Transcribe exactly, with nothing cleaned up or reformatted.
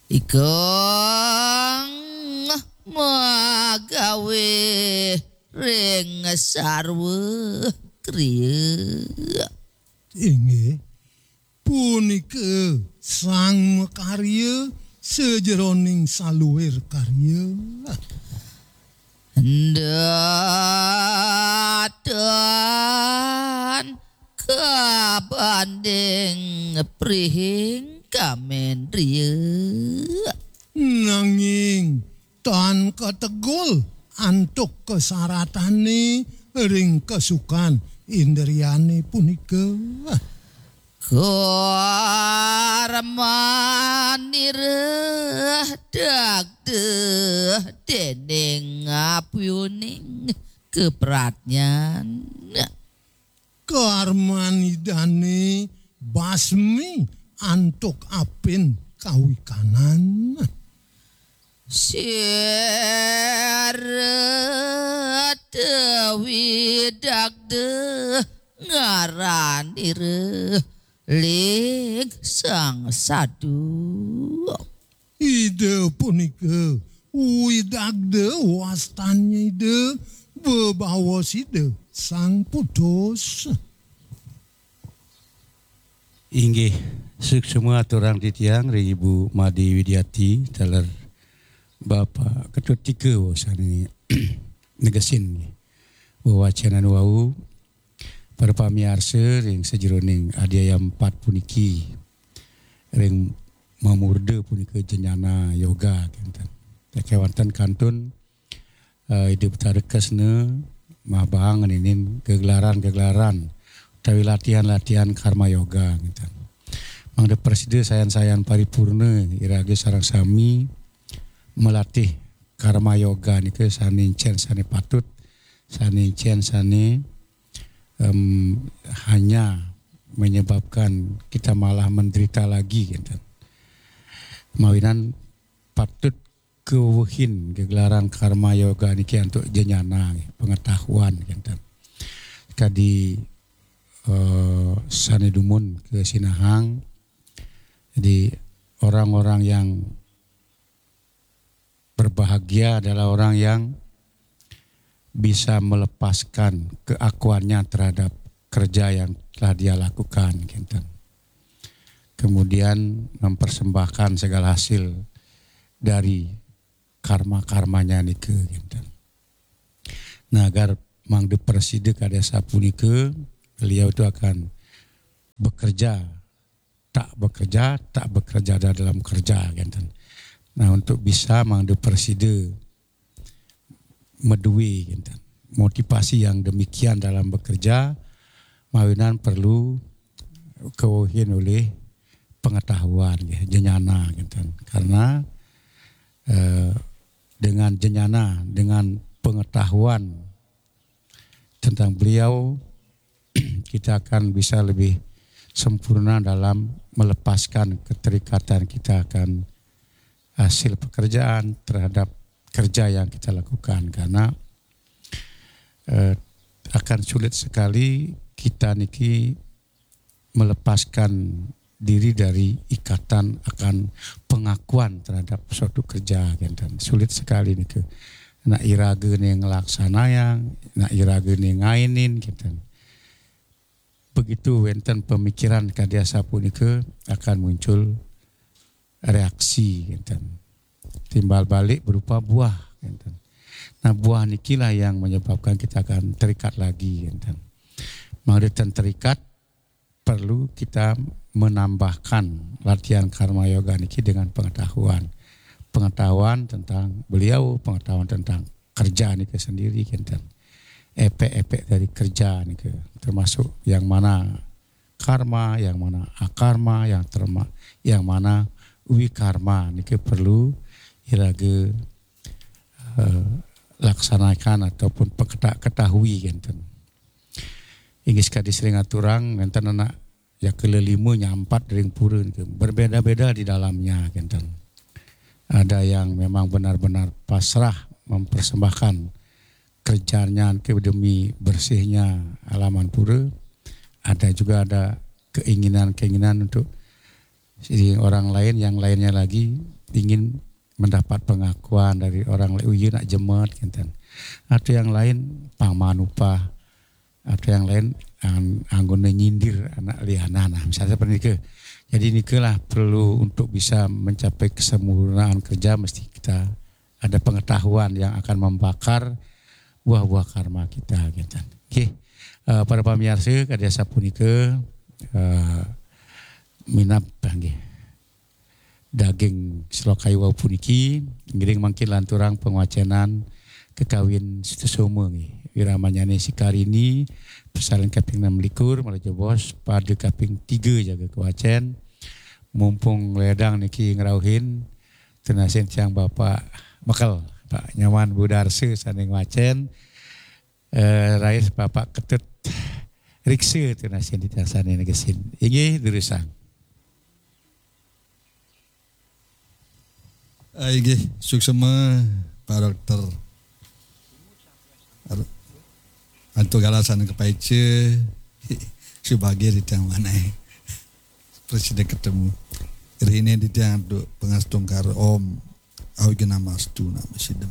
Ikang magawe ring sarwa kriya. Inggih, punika sang makarya sajeroning saluir karya. Ndatan kabanding prihing kamendriya. Nanging tan kategul antuk kasaratane ring kasukan indriyane punika. Karmanira dagdeh dening apyuning kapratnyan. Karmanidane basmi antuk apin kawikanan. Sira dewi dagdeh ngaranira ling sang sadu. Ida punika widagda wastannya Ida, bebawa sida sang putus. Inggih, suksma aturang titiang ring Ibu Made Widiati, taler Bapak Ketut Tiga sane negesin wewacenan wau. Para pamiarsa ring sajeroning adiaya empat puniki, ring mamurda punika Jnana Yoga, kenten. Kewanten kantun, eh, Ida Betara Kresna mabahang ngenenin gegelaran-gegelaran utawi latihan-latihan Karma Yoga, kenten. Mangda prasida sayan-sayan paripurna iraga sareng sami malatih Karma Yoga nika sane encen sane patut, sane encen sane, em, hanya menyebabkan kita malah menderita lagi, kenten. Mawinan patut kawewehin gegelaran Karma Yoga niki antuk jnana, pengetahuan, kenten. Kadi, eh, sane dumun kasinahang, jadi orang-orang yang berbahagia adalah orang yang bisa melepaskan keakuannya terhadap kerja yang telah dia lakukan, kenten. Kemudian mempersembahkan segala hasil dari karma-karmanya nika, kenten. Nah, agar mangda prasida kadi asapunika, beliau itu akan bekerja tak bekerja, tak bekerja ada dalam kerja, kenten. Nah, untuk bisa mangda prasida madue, kenten, motivasi yang demikian dalam bekerja, mawinan perlu kawewehin olih pengetahuan, nggih, jnana, kenten. Karena, eh, dengan jnana, dengan pengetahuan tentang beliau, kita akan bisa lebih sempurna dalam melepaskan keterikatan kita akan hasil pekerjaan, terhadap kerja yang kita lakukan, karena, eh, akan sulit sekali kita niki melepaskan diri dari ikatan akan pengakuan terhadap suatu kerja, kenten. Sulit sekali nika. Nak iragane nglaksanayang, nak iragane ngainin, kenten. Begitu wenten pemikiran kadi asapunika, akan muncul reaksi, kenten. Timbal balik berupa buah, kenten. Nah, buah nikilah yang menyebabkan kita akan terikat lagi, kenten. Mangda ten terikat, perlu kita menambahkan latihan Karma Yoga niki dengan pengetahuan. Pengetahuan tentang beliau, pengetahuan tentang kerja nika sendiri, kenten. Efek-efek dari kerja nika, termasuk yang mana karma, yang mana akarma, yang terma-, yang mana wikarma nika perlu iraga, eh, laksanakan ataupun peketa-, ketahui, kenten. Inggih, sakadi sering aturang, wenten anak jaka lelima nyampat ring pura nika, berbeda-beda di dalamnya, kenten. Ada yang memang benar-benar pasrah mempersembahkan kerjanya ke demi bersihnya halaman pura. Ada juga ada keinginan-keinginan untuk si orang lain, yang lainnya lagi, ingin mendapat pengakuan dari orang lain, "Oh, iya nak jemet," gitu. Atau yang lain pang manupah, atau yang lain ang- anggona nyindir anak lianan. Nah, misalnya seperti itu. Jadi inilah perlu untuk bisa mencapai kesempurnaan kerja, mesti kita ada pengetahuan yang akan membakar buah-buah karma kita, gitu. Oke. Eh, para pamiarsa, kadi asapunika, eh, minab, nggih, daging sloka wau puniki, ngiring mangkin lanturang pangwacenan kakawin Sutasoma, nggih. Wiramanyane Sikarini, pasalin kaping enam likur, malajebos pada kaping tiga jaga kawacen. Mumpung ledang niki ngrauhin, tunasin tiang Bapak Mekel, Pak Nyoman Budarsa sane ngwacen, eh, raris Bapak Ketut Riksa tunasin tiang sane negesin. Inggih, durusang. Ah, inggih, suksma, Pak Dokter. Ar- Antuk galah sane kapaica, subagir titiang manah. Prasida ketemu. Rihine titiang antuk pangastungkara, Om Awighnamastu Namo Siddham.